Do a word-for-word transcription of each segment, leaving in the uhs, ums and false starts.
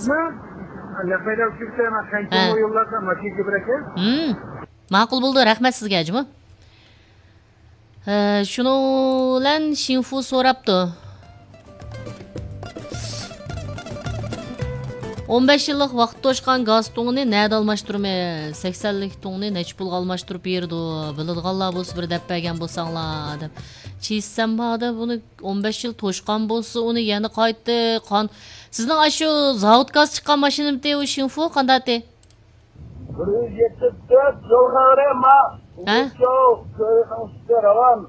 نەق مەيدان ئۇچۇپ كېتەي، مەن قانچە ھە. يوللاردا ماشىنا كۆپرەك. ھىم. ماقۇل بولدى، رەھمەت سىزگە، جۇمۇ. ھە، شۇنىڭ بىلەن شىنفۇ سوراپتۇ. ئون بەش يىللىق ۋاقىت توشقان گاز تۇڭىنى نەدە ئالماشتۇرىمىز؟ سەكسەنلىك تۇڭنى نەچچە پۇلغا ئالماشتۇرۇپ بېرىدۇ؟ بىلىدىغانلار بولسا بىر دەپ بەرگەن بولساڭلار، دەپ. چىسەمبادا بۇنى ئون بەش يىل توشقان بولسا، ئۇنى يەنە قايتا قان-، سىزنىڭ ئاشۇ زاۋۇت گاز چىققان ماشىنىمىتى ئۇ شىنفۇ قانداقتى؟ بىر يۈز يەتتە تۆت يولغا قاراي، ما-، ھە؟ ئۇچاۋ كۆرۈنۈڭ ئۈستىگە راۋان.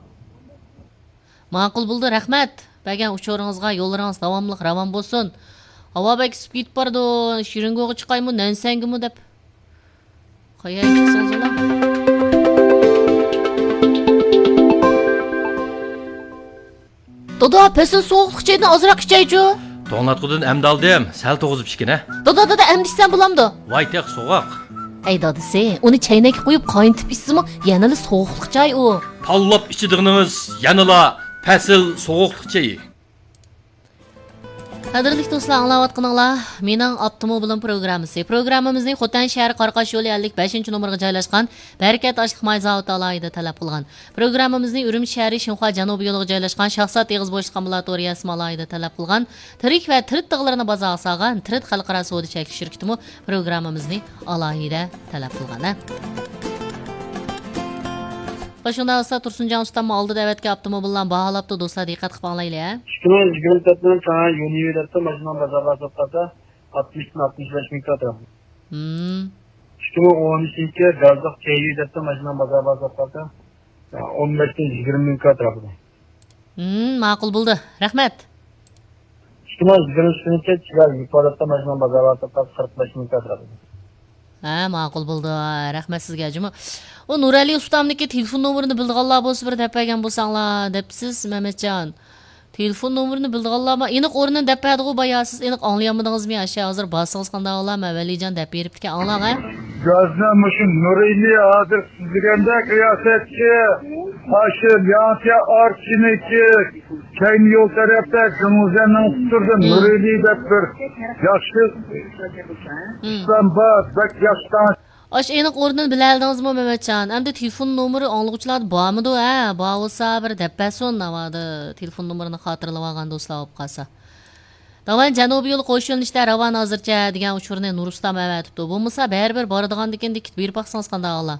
ماقۇل بولدى، رەھمەت. بەرگەن ئۇچۇرىڭىزغا، يوللىرىڭىز داۋاملىق راۋان بولسۇن. ھاۋا بەك ئىسسىپ كېتىپ بارىدۇ، شىرىنگوغا چىقايمۇ، نەنسەنگىمۇ دەپ. قايا چىقسىڭىزلا. دادا، پەسىل سوغۇقلۇق چايدىن ئازراق ئىچەيچۇ. توڭلاتقۇدىن ئەمدى ئالدىم، سەل توغۇزۇپ ئىچكىنە. دادا، دادا، ئەمدى ئىچسەم بولامدۇ؟ ۋاي تېخى سوغۇق. ئەي دادىسى، ئۇنى چەينەككە قۇيۇپ قاينىتىپ ئىچسىمۇ يەنىلا سوغۇقلۇق چاي ئۇ. تاللاپ ئىچىدىغىنىڭىز يەنىلا پەسىل سوغۇقلۇق چېيى. قەدىرلىك دوستلار، ئاڭلاۋاتقىنىڭلار مېنىڭ ئاپتوموبىلىم پروگراممىسى. پروگراممىمىزنى خوتەن شەھىرى قاراقاش يولى ئەللىك بەشىنچى نومۇرغا جايلاشقان بەرىكەت ئاشلىق ماي زاۋۇتى ئالاھىدە تەلەپ قىلغان. پروگراممىمىزنى ئۈرۈمچى شەھىرى شىنخۇا جەنۇبىي يولىغا جايلاشقان شاھزات ئېغىز بوشلۇق ئامبۇلاتورىيەسىمۇ ئالاھىدە تەلەپ قىلغان. تىرىك ۋە تىرىت تىغلىرىنى بازارغا سالغان تىرىت خەلقئارا سودا چەكلىك شىركىتىمۇ پروگراممىمىزنى ئالاھىدە تەلەپ قىلغان، ھە. شۇنداق بولسا، تۇرسۇنجان ئۇستاممۇ ئالدىدا ئەۋەتكەن ئاپتوموبىللارنى باھالاپتۇ، دوستلار، دىققەت قىلىپ ئاڭلايلى، ھە. ئىككى مىڭ يىگىرمە تۆتنىڭ تاڭى يۇنىۋى دەپتۇ، ماشىنىنىڭ بازار باھاسى ئوتتۇرىسى ئاتمىشتىن ئاتمىش بەش مىڭ كاترا. ھىم. ئىككى مىڭ ئون ئۈچىنچى گازلىق كەيۋى دەپتۇ، ماشىنىنىڭ بازار باھاسى ئوتتۇرىسى ئون بەشتىن يىگىرمە مىڭ كاترا. ھىم، ماقۇل بولدى. رەھمەت. ئىككى مىڭ يىگىرمە ئۈچىنچى چىراي ئىپادىسىدە ماشىنىنىڭ بازار باھاسى قىرىق بەش مىڭ كاترا. ھە، ماقۇل بولدى. رەھمەت سىزگە، جۇمۇ. ئۇ نۇرئەلى ئۇستامنىڭكى تېلېفون نومۇرىنى بىلىدىغانلار بولسا، بىر دەپ بەرگەن بولساڭلار، دەپسىز، مەمەتجان. تېلېفون نومۇرىنى بىلىدىغانلار بار. ئېنىق ئورنىنى دەپ بەردىغۇ بايا، سىز ئېنىق ئاڭلىيالمىدىڭىزمۇ؟ ئاشۇ ھازىر بارسىڭىز قانداق بولا؟ مەن ۋەلىجان دەپ بېرىپتىكەن، ئاڭلاڭ، ھە. گازنى مۇشۇ نۇرئەلى ھازىر سۆزلىگەندەك رىياسەتچى، ئاشۇ لياڭتيا ئارچىنىكى كەينى يول تەرەپتە گېڭزەنىڭ ئۇتتۇرىدا ھىم. نۇرئەلى دەپ بىر ياخشى ھىم. ئىسلام بار، بەك ياخشى تاڭ. ئاشۇ ئېنىق ئورنىنى بىلەلىدىڭىزمۇ، مەمەتجان؟ ئەمدى تېلېفون نومۇرى ئاڭلىغۇچىلاردا بارمىدۇ، ھە؟ بار بولسا بىر دەپ بەرسۇن، ناۋادا تېلېفون نومۇرىنى خاتىرىلىۋالغان دوستلار بولۇپ قالسا. داۋان جەنۇبىي يول قوش يۆنىلىشتە راۋان ھازىرچە دېگەن ئۇچۇرنى نۇرۇستام ئەۋەتىپتۇ. بولمىسا بەرىبىر بارىدىغاندىكىن دىكىت بېرىپ باقسىڭىز قانداق ئاڭلا؟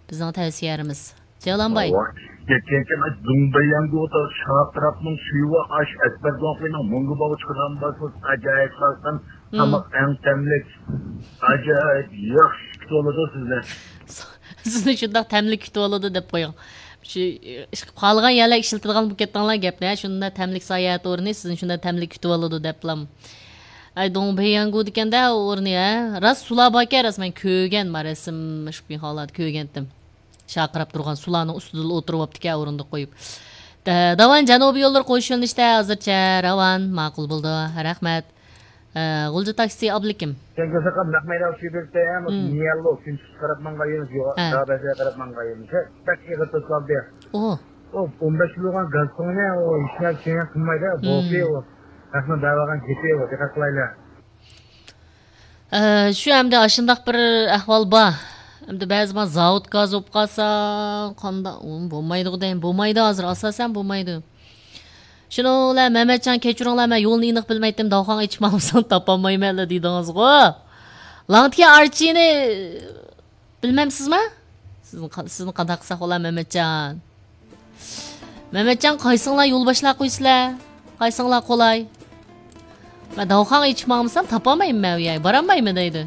بىزنىڭ تەۋسىيەرىمىز. جەۋلانباي. ئاۋا، كەتكەنكى مەن زۇڭبەييەنگۇ شاپىراپنىڭ شۈيۋا ئاش ئەكبەر زۇڭخۇينىڭ مۇڭگۇ باۋۇچ قىلغان بارسىز ئاجايىپ سالقىن ھىم. تاماق ئەڭ تەملىك. ئاجايىپ ياخشى كۈتۈۋالىدۇ سىزنى. سىزنى شۇنداق تەملىك كۈتۈۋالىدۇ دەپ قويۇڭ. شۇ، ئىش-، قالغان يەرلەرگە ئىشلىتىدىغان بولۇپ كەتتىڭلار گەپنى، ھە؟ شۇنداق تەملىك ساياھەت ئورنى سىزنى شۇنداق تەملىك كۈتۈۋالىدۇ دەپلام. ئەي، دۇڭبېيەنگۇ دېگەندە ئۇ ئورنى، ھە؟ راست سۇلار باركەن، راست مەن كۆرگەن، ما رەسىم، شۇ ھاللاردا كۆرگەنتىم. شارقىراپ تۇرغان سۇلارنىڭ ئۈستىدىلا ئولتۇرۇۋاپتىكەن، ئورۇندۇق قويۇپ. دە-، داۋان جەنۇبىي يوللىرى قوش يۆنىلىشتە ھازىرچە راۋان، ماقۇل بولدى، رەھمەت. ئە، غۇلجا تاكسى ئابلىكىم. سەن كۆرسەڭ نەق مەيدان ئۇچۇپ بېرىپتۇ، ھە، مۇشۇ مم. نىيەللو، كۈنچىققا قاراپ ماڭغان يېرىمىز، يوغان ھە. دابەسەگە قاراپ ماڭغان يېرىمىز. ھە، بەك ئېغىر توسۇلدى. ئوھ. ئۇ ئون بەش يىل بولغان گاز تۇڭىنى ئۇ ھېچ نەرسە كېيىن قىلمايدۇ، مم. بوپى ئۇ. ھەقنىڭ دەۋالغان گېپى ئۇ، دىققەت قىلايلى. ئە، شۇ ئەمدى ئاشۇنداق بىر ئەھۋال بار. ئەمدى بەزى ما زاۋۇت گاز بولۇپ قالسا، قانداق، ئۇ بولمايدىغۇ دەيمەن. بولمايدۇ ھازىر، ئاساسەن بولمايدۇ. شۇنىڭ بىلەن مەمەتجان، كەچۈرۈڭلار، مەن يولنى ئېنىق بىلمەيتتىم، داۋخاڭ ئېچىپ ماڭمىسام تاپالمايمەنلا دېدىڭىزغۇ. لاڭتيا ئارچىنى بىلمەمسىزما؟ سىزنى قا-، سىزنى قانداق قىلساق بولا، مەمەتجان؟ مەمەتجان، قايسىڭلار يول باشلاپ قويىسىلەر؟ قايسىڭلار قولاي؟ مەن داۋخاڭ ئېچىپ ماڭمىسام تاپالمايمەن مەن ئۇ يەرگە، بارالمايمەن دەيدۇ.